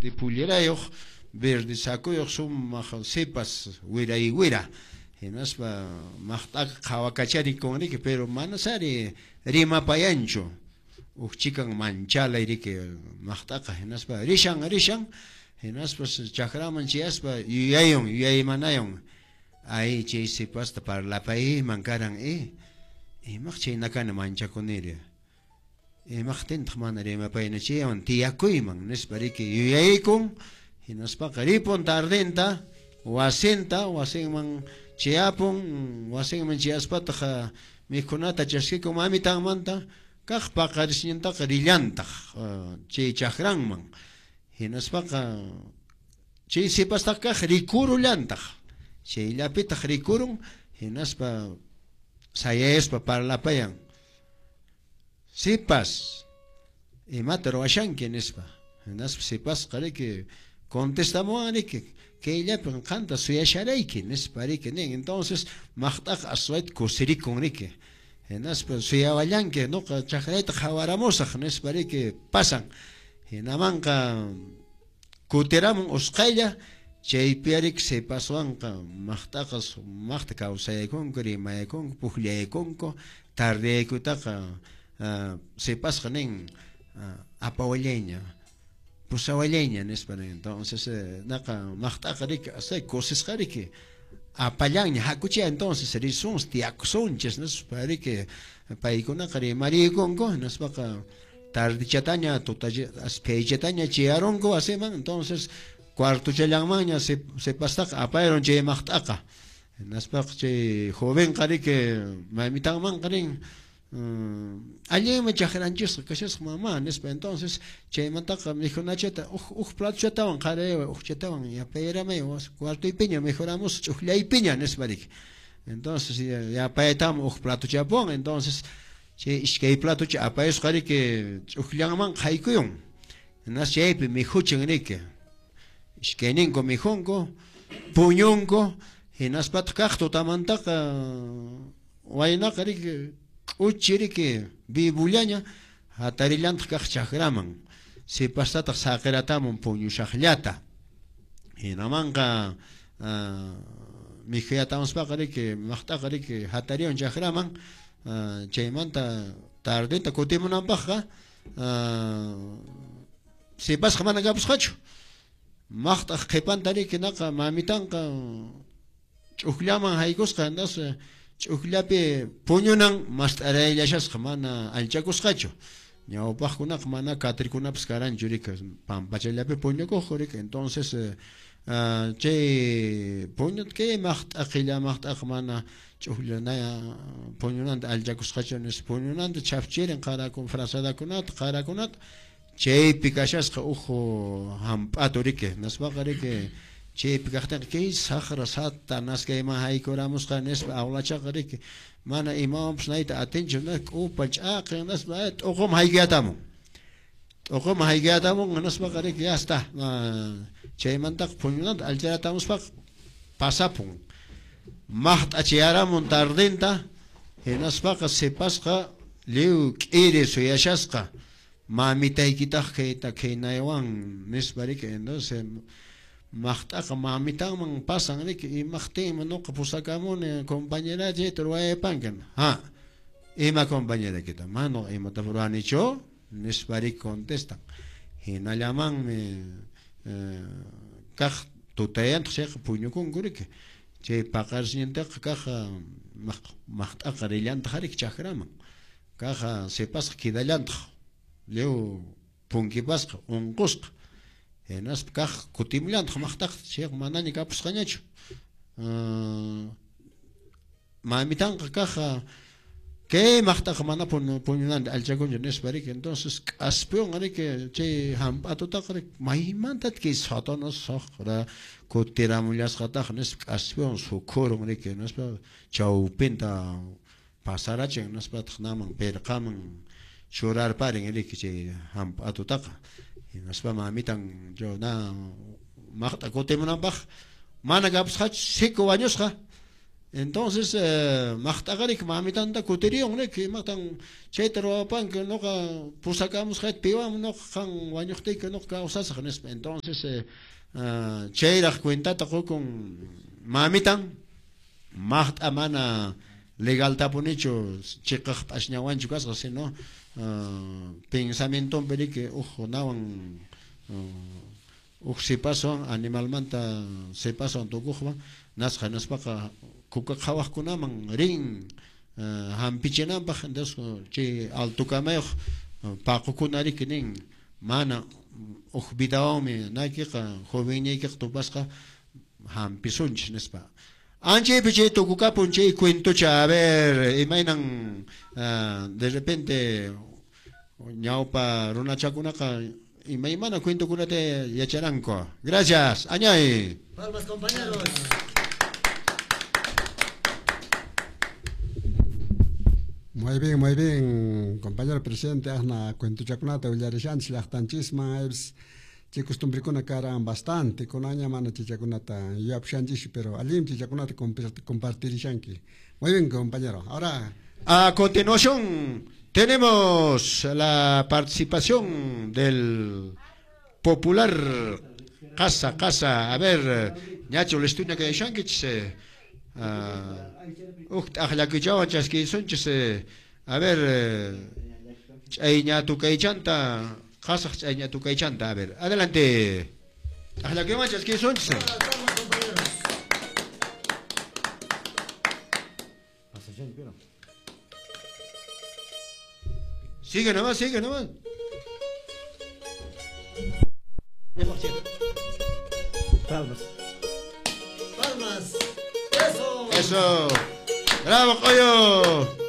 Pullerayuq, verde sakuyuq sumaq sipas wiray wira. Hinaspa maqt'aqa qhawakacharikun riki, pero manasari rimapayanchu. Huk chikan manchalay riki maqt'aqa, hinaspa rishan rishan, hinaspa chakraman chayaspa yuyayun, yuyaymanayun. Ay, chay sipasta parlapayman karan, imaq chaynakani manchakuniri. Imaqtintaq mana rimapayna chaywan tiyakuyman nispa riki yuyaykun, hinaspaqa ripun tardenta wasinta, wasinman chayapun, wasinman chayaspataq mikhunata chaskikun mamitanmanta, kaq paqarisnintaqa rillantaq chay chakranman. Hinaspaqa chay sipastaq kaq rikurullantaq, chayllapitaq rikurun, hinaspa sayayaspa parlapayan. Sipas, imata ruwashanki nispa. Hinaspa sipasqa riki contestamuwan riki, kayllapin qanta suyasharayki nispa riki nin. Entonces maqt'aqa aswayta kusirikun riki. Hinaspa suyawallanki, nuqa chakrayta qhawaramusaq nispa riki pasan. Hinamanqa kutiramun usqhaylla, chaypi riki sipaswanqa maqt'aqa sumaqta kawsaykunku, rimaykunku, pukllaykunku. Tardeyaykutaqa sipasqa nin, apawallayña, pusawallayña nispa nin. Entonces naqa maqt'aqa riki asay kusisqa riki apallanña, hakuchaya entonces risunchis, tiyakusunchis nispa riki paykunaqa rimariykunku. Hinaspaqa tardechataña, phaychataña chayarunku wasiman. Entonces cuartochallanmanña sipastaqa apayarun chay maqt'aqa. Hinaspaqa chay jovenqa riki mamitanmanqa nin, allinmi chakranchisqa kashasqa mamá nispa. Entonces chaymantaqa mikhunachata huk platochatawan qarayaway, hukchatawan yapayramay cuartoypiña mikhuramusaq ch'uqllaypiña nispa riki. Entonces yapaytaman huk platochapuwan. Entonces chay iskay platocha apayusqa riki ch'uqllanman haykuyun. Hinaspa chaypi mikhuchin riki. Iskayninku mikhunku, puñunku. Hinaspataq kaq tutamantaqa waynaqa riki k'uchi riki vivullaña hatarillantaq kaq chakraman. Sipastataq saqiratamun puñushaqllata. Hinamanqa mikhuyatamuspaqa riki maqt'aqa riki hatariyun chakraman. Chaymanta tardenta kutimunanpaqqa sipasqa mana kapusqachu. Maqt'aq qhipanta riki naqa mamitanqa ch'ukllaman haykusqa, entonces ch'ukllapi puñunan mast'arayllashasqa, mana allchakusqachu. Ñawpaqkunaqa mana katrikunapas karanchu riki, pampachallapi puñukuqku riki. Entonces chay puñut kay maqt'a qilla maqt'aqa mana ch'ukllanaya puñunanta allchakusqachu nispa puñunanta chhafchirin qarakun frazadakunata, qarakunata. Chaypi kashasqa uhu hamp'atu riki, nispaqa riki chaypi kaqtinqa kay saqra Satanás kayman haykuramusqa nispa awlachaqa riki mana imawanpas nayta atinchu, k'upa ch'aqin nispa t'uquman haykuyatamun. T'uquman haykuyatamun nispaqa riki ya está. Chaymantaqa puñunanta allcharatamuspaqa pasapun. Maqt'a chayaramun tardenta, hinaspaqa sipasqa lliw k'iri suyashasqa. Mamitaykitaq kayta kaynaywan nispa riki. Entonces maqt'aqa mamitanman pasan riki, imaqtinmi nuqa pusakamuni compañera chayta ruwayapanki. Ha, ima compañeraykita? Mana imata ruwanichu nispa riki contestan. Hinallamanmi kaq tutayantaq chayqa puñukunku riki. Chay paqarisnintaqa kaq maqt'aqa rillantaq riki chakraman. Kaq sipasqa quedallantaq lliw punkipasqa unqusqa. Hinaspa kaq kutimllantaq maqt'aqa chayqa manaña kapusqañachu. Mamitanqa kaq kay maqt'aqa mana puñunanta allchakunchu nispa riki. Entonces k'aspiwan riki chay hamp'atutaqa riki maymantataq kay Satanás saqra kutiramullasqataq nispa k'aspiwan sukhurun riki. Nispa chawpinta pasarachin nispataq naman pirqaman churarparin riki chay hamp'atutaqa. Hinaspa mamitan na maqt'a kutimunanpaq mana kapusqachu, siku wañusqa. Entonces maqt'aqarik mamitanta kutiriyon nik imatan chayta ruwapanki nuqa pusakamusqayta piwan nuqa qan wañuqtiyki nuqa kawsasaq nispa. Entonces chayraq cuentata qukun mamitan maqt'a mana legaltapunichu chiqaq p'asñawanchu kasqa sino pensamientonpi riki uj nawan uj sipaswan animalmanta sipaswan tukuqwan nasqa nispaqa kuka qhawaqkunaman rin hampichinanpaq. Entonces chay altukamayuq paqukuna riki nin mana uj vidawanmi naykiqa jovenñaykiqa tupasqa hampisunchis nispa. Anchaypi chay tukukapun chay cuentocha. A ver, imaynan de repente ñawpa runachakunaqa imaymana cuentokunata yacharanku. Gracias, añay. Palmas, compañeros. Muy bien, compañero presidente, asna cuentochakunata willarishanchis llaqtanchisman aybis chay costumbrikuna karan bastante, kunaña mana chichakunata yuyapushanchis, pero allinmi chichakunata compartirishanki. Muy bien, compañero. Ahora a continuación tenemos la participación del popular Casa Casa. A ver, ñachu listuña kayashankichis uj t'aqllakichawan chaskisunchis. A ver, ch'ayña tukaychanta qasaq ch'ayña tukaychanta. A ver, adelante. T'aqllakiwan chaskisunchis. Sigue nomás, sigue nomás. Palmas. Palmas. Eso. Eso. Bravo, Coyo.